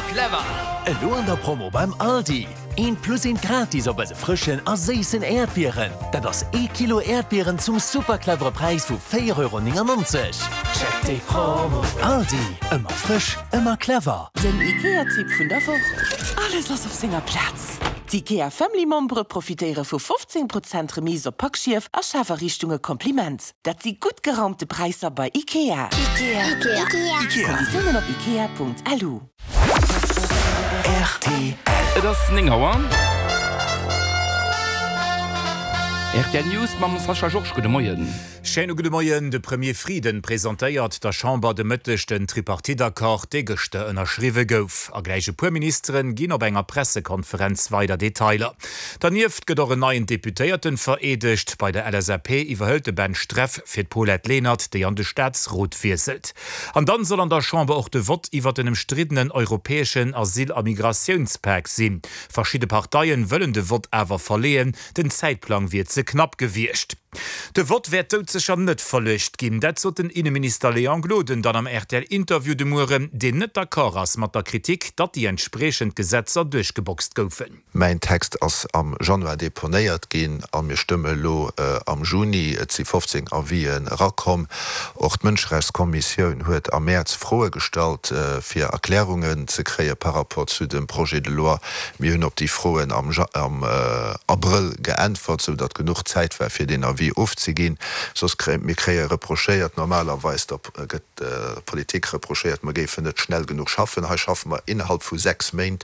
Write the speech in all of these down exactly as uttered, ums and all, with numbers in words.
Super clever! Elo an der Promo beim Aldi, Eent plus eent gratis op eise frëschen a séissen Äerdbieren. Dat ass ee Kilo Äerdbieren zum super clevere Präis vu véier Euro néngennonzeg. Check déi Promo! Aldi, ëmmer frësch, ëmmer clever! Den IKEA-Tipp vun der Woch, Alles ass op senger Plaz! D'IKEA Family Membere profitéiere vu fofzéng Prozent Remise op Packschief a Schafariichtunge Kompliment. Dat si gutt geraumte Präisser bei IKEA. Konditiounen op ikea.lu. Rtl. Et ass néng Auer. Rtl News mam Sascha Georges. Gudde Moien. Schéine gudde Moien. De Premier Frieden presentéiert der Chamber de Mëtteg den Tripartite-Accord, dee gëschter ënnerschriwwe gouf. A gläich e puer Ministeren ginn op enger Pressekonferenz weider Detailer. Dernieft gëtt och en neien Deputéierten vereedegt. Bei der L S A P iwwerhëlt de Ben Streff fir d'Paulette Lenert, déi an de Staatsrot wiesselt. An dann soll an der Chamber och de Vott iwwer den ëmstriddenen europäeschen Asyl a Migratiounspak sinn. Verschidde Parteien wëllen de Vott awer verleeën, den Zäitplang wier ze knapp gewiescht. De Vott wäert doudsécher net verluecht ginn, dat sot den Inneminister Léon Gloden dann am R T L-Interview de Mueren, deen net d'accord ass mat der Kritik, datt déi entspriechend Gesetzer duerchgeboxt goufen. Mäin Text ass am Januar deponéiert ginn a mir stëmme elo am Juni. Et si fofzéng Avisen erakomm. Och d'Mënscherechtskommissioun huet am Mäerz Froe gestallt, fir Erklärungen ze kréie par rapport zu dem Projet de loi. Mir hunn op déi Froen am Abrëll geäntwert, sou datt genuch Zäit war, fir deen Avis ofzeginn. Soss kréie mir kréie reprochéiert, normalerweis der gëtt der Politik reprochéiert, mer géifen net schnell genuch schaffen. Hei schaffe mer innerhalb vu sechs Méint,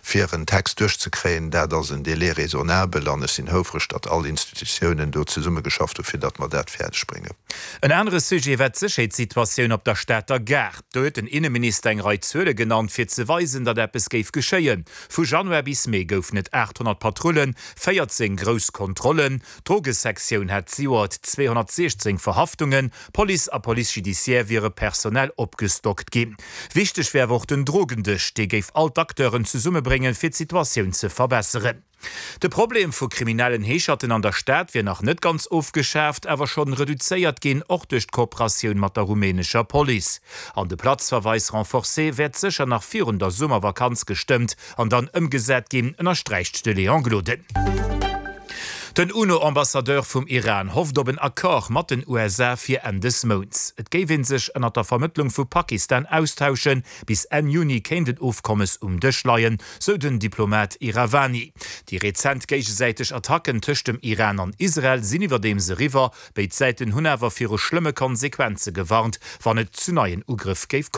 fir en Text duerchzekréien. Dat ass en Délai raisonnable an ech sinn houfreg, datt all Institutiounen do zesummegeschafft hu fir datt mer dat fäerdeg bréngen. En anere Sujet war d'Sécherheetssituatioun op der Stater Gare. Do huet den Inneminister eng Rei Zuele genannt, fir ze weisen, datt eppes géif geschéien. Vu Januar bis Mee goufen et aathonnert Patrullen, véierzéng grouss Kontrollen, d'Drogesektioun hat zejoert zweehonnertsiechzéng Verhaftungen, Police a Police judiciaire wiere personell opgestockt ginn. Wichteg wär awer och den Drogendësch, dee géif all d'Acteuren zesummebréngen, fir d'Situatioun ze verbesseren. De Problem vu kriminellen Heescherten an der Stad wier nach net ganz ofgeschaaft, awer schonn reduzéiert ginn, och duerch d'Kooperatioun mat der rumänescher Police. An de Platzverweis renforcé wäert sécher nach virun der Summervakanz gestëmmt an dann ëmgesat ginn, ënnersträicht de Léon Gloden. Den UNO-Ambassadeur vum Iran hofft op en Accord mat den U S A fir Enn des Mounts. Et géif ee sech ënnert der Vermëttlung vu Pakistan austauschen, bis Enn Juni kéint en Ofkommes um Dësch leien, sou den Diplomat Iravani. Déi rezent géigesäiteg Attacken tëscht dem Iran an Israel sinn iwwerdeems eriwwer, béid Säiten hunn awer viru schlëmme Konsequenze gewarnt, wann et zu neien Ugrëff géif kommen.